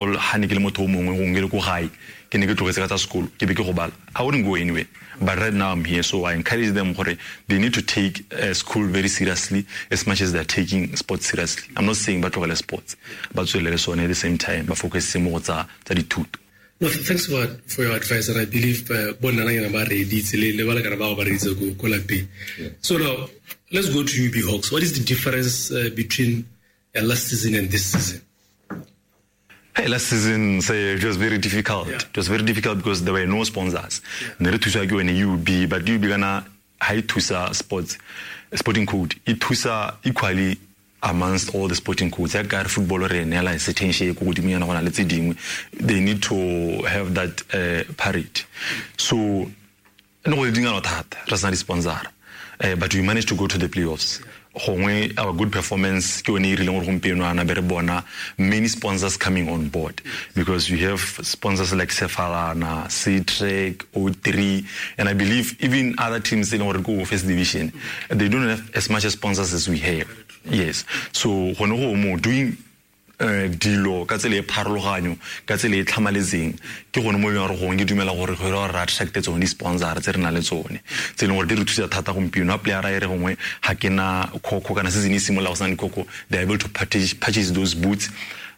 Ha ne ke le motho o mongwe gongwe ke le ko gae, ke ne ke tlogetse ka tsa sekolo, ke be ke go bala, I wouldn't go anywhere. But right now I'm here, so I encourage them gore they need to take school very seriously as much as they're taking sports seriously. I'm not saying ba tlogele sports, ba tswelele sone at the same time, ba focus mo go tsa dithuto. No, thanks for your advice, and I believe bonna na ba reeditse le ba lekana ba ba reeditse ko lapeng. So now let's go to UB Hawks. What is the difference between last season and this season? Hey, last season, say, it was very difficult. It was very difficult because there were no sponsors. Ne re thuswa ke yone UB, but UB kana ha e thusa sports, sporting code, e thusa equally amongst all the sporting codes. Ya ka re football re neela certain share ko godimo yana go na le tse dingwe. They need to have that parity. So ne go le dingalo thata, re sena di-sponsor. But we managed to go to the playoffs. Gongwe our good performance ke yone e rileng gore gompieno ana be re bona many sponsors coming on board, because we have sponsors like Sefalana, C-Trek, O3, and I believe even other teams e leng gore ko first division, they don't have as much sponsors as we have. Yes. So gone go mo doing dilo ka tsela e pharologanyo, ka tsela e tlhamaletseng, ke gone mo e leng gore gongwe ke dumela gore go ira gore re attracte tsone di-sponsor tse re nang le tsone, tse e leng gore di re thusa thata gompieno. Ha player a e re gongwe ga ke na khokho, kana season e simolola go sena dikhokho, they are able to purchase those boots.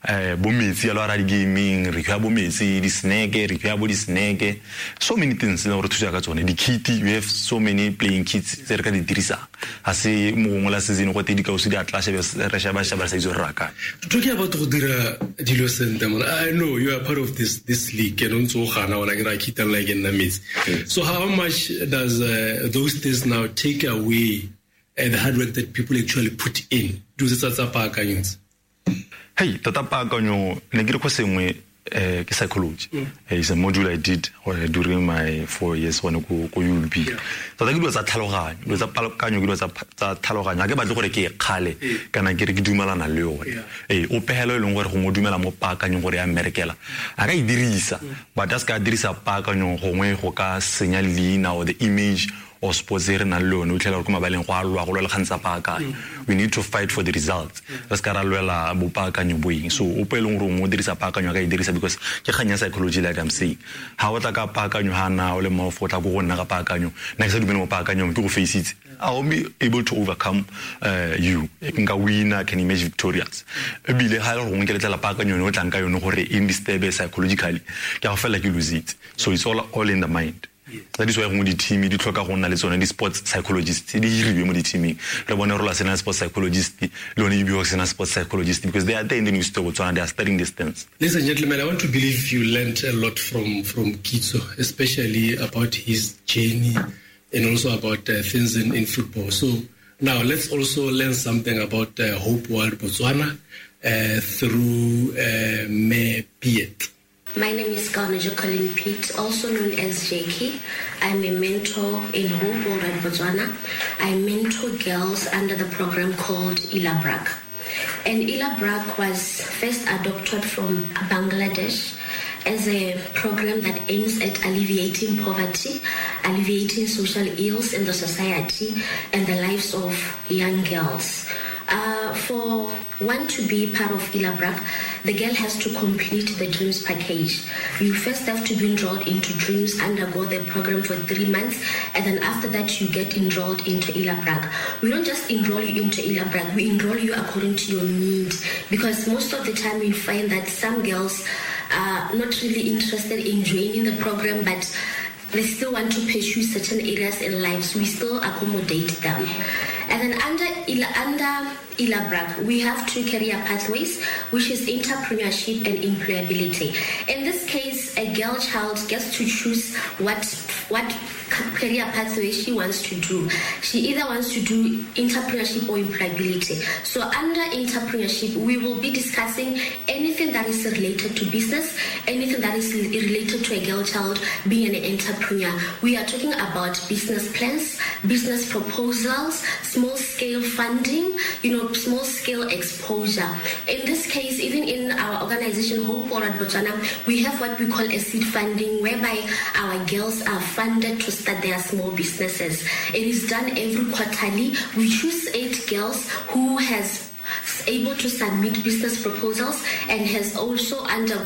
Bo metsi a lo ara di-gaming, re fiwa bo metsi, di-snack, re fiwa bo di-snack, so many things tse e leng gore thusa ka tsone. Di-kit, we have so many playing kits tse re ka di dirisang. Ha se mo gongwe la season go te dikausu di a tla shebe, re sheba sheba re sa itse gore re ya kae. Talking about go dira dilo sentle, man, I know you are part of this league, and o ntse o gana ona ke ra kitang like nna metsi. So how much does those things now take away the hard work that people actually put in? Dilo tse tsa paakanyo tse? Hey, tota paakanyo, ne ke re go sengwe, ke psychology. It's a module I did during my 4 years gone ko UB. Tota ke dilo tsa tlhaloganyo, dilo tsa paakanyo ke dilo tsa tlhaloganyo. Ha ke batle gore ke e kgale, kana ke re ke dumelana le yone. O pehelo e leng gore gongwe o dumela mo paakanyong gore ya mmerekela, a ka e dirisa, but a se ka dirisa paakanyo gongwe go ka senya leina or the image or sports e re nang le yone. O fitlhela gore ko mabaleng go a lwa, go lwa le kgang tsa paakanyo. We need to fight for the results. Re se ka ra lwela bopaakanyo bo eng. So ope e leng gore o dirisa paakanyo a ka e dirisa, because ke kgang ya psychology like I'm saying. Ha o tla ka paakanyo, ha na o le mmogo, o tla ko go nna ka paakanyo, nna ke sa dumele mo paakanyong, ke go faceitse. I will be able to overcome you. Nka win, I can emerge victorious. Ebile ha e le gore gongwe ke letlela paakanyo yone, o tlang ka yone gore e disturb psychologically, ke a go fela ke lose it. So it's all in the mind. That is why gongwe di-team di tlhoka go nna le tsone di-sports psychologists, di hiriwe mo di-teaming. Re bone Rola sena sports psychologist, le yone UB sena sports psychologist, because they are there in the University of Botswana, they are studying these things. Ladies and gentlemen, I want to believe you learned a lot from Kitso, especially about his journey and also about things in football. So now let's also learn something about Hope World Botswana through Me Piet. My name is Kaone Jacqueline Piet, also known as Jackie. I'm a mentor in Hope World Botswana. I mentor girls under the program called Ilabrak. And Ilabrak was first adopted from Bangladesh as a program that aims at alleviating poverty, alleviating social ills in the society and the lives of young girls. For one to be part of Ilabrak, the girl has to complete the DREAMS package. You first have to be enrolled into DREAMS, undergo the program for 3 months, and then after that you get enrolled into Ilabrak. We don't just enroll you into Ilabrak, we enroll you according to your need, because most of the time you find that some girls are not really interested in joining the program, but they still want to pursue certain areas in life, so we still accommodate them. And then under Ilabrak, we have 2 career pathways, which is entrepreneurship and employability. In this case, a girl child gets to choose what career pathway she wants to do. She either wants to do entrepreneurship or employability. So under entrepreneurship, we will be discussing anything that is related to business, anything that is related to a girl child being an entrepreneur. We are talking about business plans, business proposals, small-scale funding, small-scale exposure. In this case, even in our organization, Hope World Botswana, we have what we call a seed funding, whereby our girls are funded to start their small businesses. It is done every quarterly. We choose 8 girls who has able to submit business proposals and has also undergone